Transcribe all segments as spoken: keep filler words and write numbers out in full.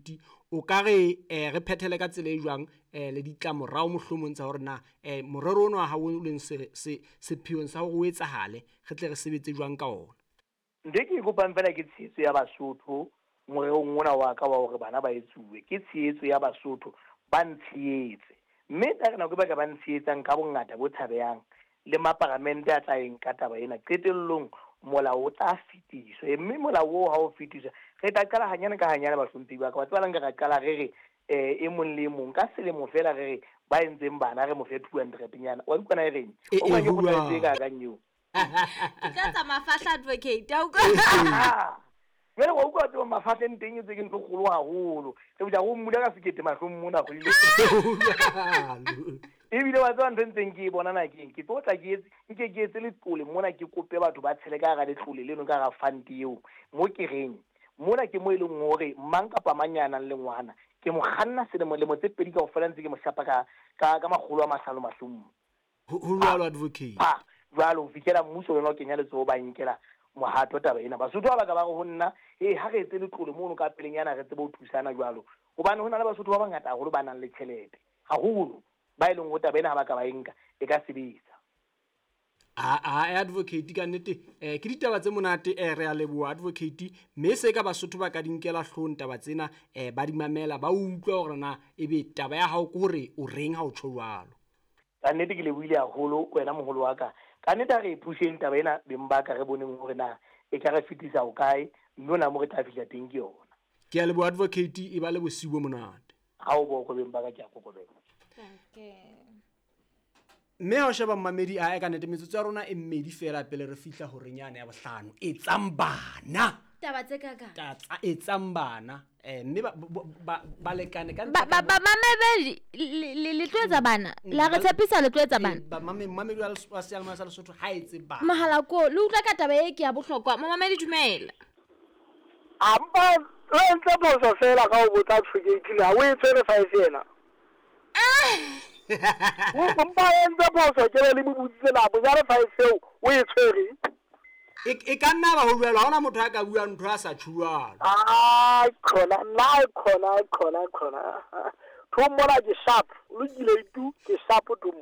advocate o ka re eh, re phethele ka tsela e jwang eh, le ditlamorao mohlomong tsa hore na eh, morero ono wa hao o leng se se sepheong sa hore o etsahale re tle re sebetse jwang ka ona. Ntho e ke e kopang fela ke tshehetso ya Basotho morerong ona wa ka wa hore bana ba etsuwe. Ke tshehetso ya Basotho, ba ntshehetse. Mme tla re nako e ba ka ba ntshehetsang ka bongata bo tshabehang le maparamente a tla eng ka taba ena, qetellong molao o tla fetiswa. Mme molao oo ha o fetiswa, re tla qala hanyane ka hanyane bahlomphehi ba ka. Wa tseba la nka ra qala re re eh, e mong le e mong ka selemo fela re re ba entseng bana re mo fe two hundred nyana. Wa utlwa na e reng? E, O utlwa e, ke ho kgothaletso e jwalo. kakang eo? Ke tla etsa mafahla advocate, a utlwa? Ah, jwale wa utlwa tseba mafahleng teng e tse ke ntho e kgolo haholo. Re botsa go mmula ka sekete mahlong mona kgwedi le Jwalo. Ebile wa tseba ntho e ntseng ke e bona na keng? Ke tlo tla ke etse, nke ke etse letlole mona, ke kope batho ba tshele ka hara letlole leno, ka hara fund eo. Mo ke reng, mona ke mo e leng hore mang kapa mang ya nang le ngwana, ke mo kganna selemo lemo tse pedi kaofela ntse ke mo shapa ka, ka, ka makgolo a mahlano mahlong. Ho, ho jwalo advocate. Ha, jwalo ho fihlela mmuso lona o kenya letsoho ba nkela mohato taba ena. Basotho ba baka ba re ho nna, hey, ha re etse letlole mono ka pelenyana re tsebe ho thusana jwalo. Hobane ho na le Basotho ba bangata haholo ba nang le tjhelete haholo, ba e leng hore taba ena ha ba ka ba e nka e ka sebetsa. A, a, advocate ka nnete, eh, ke ditaba tse monate, eh, re a leboha advocate, mme se ka Basotho ba ka di nkela hloohong taba tsena, eh, ba di mamela, ba utlwa hore na ebe taba ya hao ke hore o reng ha o tjho jwalo. Ka nnete ke lebohile haholo wena moholo wa ka. Ka nnete ha re e pusheng taba ena beng ba ka, re boneng hore na e ka re fetisa ho kae, mme hona mo re tla fihla teng ke yona. Ke a leboha advocate, e ba le bosiu bo monate. Ha o boko beng ba ka, ke a kokobela. Okay. Mme ha o sheba mmamedi a ka nnete metsotso ya rona e mmedi fela pele re fihla horeng yane ya bohlano. Etsang bana. Taba tse kakang. Tsa etsang bana. Eh, mme ba, ba, ba, balekane ka Ba, ba, ba, mamedi, le, le, le tlo etsa bana. La re Mm, tshepisa le tlo etsa Eh, bana. ba, mame, mamedi wa Lesotho, wa seyalemoya sa Lesotho ha etse bana. Mohala ko, le utlwa ka taba e ke ya bohlokwa. Momamedi dumela. A mpa o entse phoso fela ka ho botsa advocate na o e tshwere five yena. O mpa o entse phoso ke be le mo botsitse na bonyane five eo o e tshwere. E, e ka nna ba ho jwalo, ha hona motho a ka buang ntho a sa tjho jwalo. Ai, khona, nna ai khona, ai khona, ai khona. Thong mona ke sharp, o lokile itu, ke sharp thong.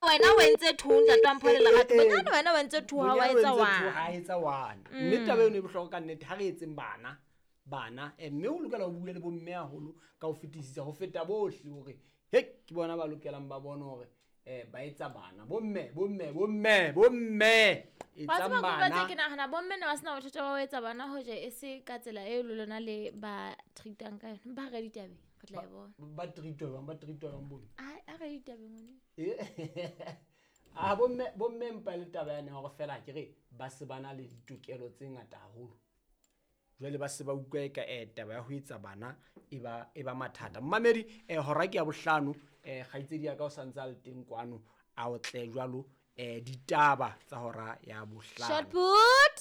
Wena o entse two, ntate wa Mpho le Lerato. Eh, eh, Bonyane wena o entse two, ha wa Bonyane o etsa entse two, one. ha etsa one. Mme taba eno e bohlokwa ka nnete, ha re etseng bana, bana. Eh, mme o lokela ho bua le bo mme haholo ka ho fetisisa, ho feta bohle hore, he, ke bona ba lokelang ba bone hore, eh, ba etsa bana. Bo mme, bo mme, bo mme, bo mme. Wa Etsang tseba ke bana. batla ke nahana bo mme ne ba sena bothata ba ho etsa bana hoja e se ka tsela eo le lona le ba treat-ang ka yona. Ba re ditabeng, re tla e bona. Ba treat-wa jwang, ba treat-wa jwang bo mme? Ai, a re ditabeng ngwane. Eh. Ah, bo mme, bo mme mpa le taba yane hore fela ke re ba se ba na le ditokelo tse ngata haholo. Jwale ba se ba utlwa eka, eh, taba ya ho etsa bana e ba, e ba mathata. Mmamedi, eh, hora ke ya bohlano, eh, kgaitsedi ya ka o santse a le teng kwano, a o tle jwalo, eh, ditaba tsa hora ya bohlano. Short put.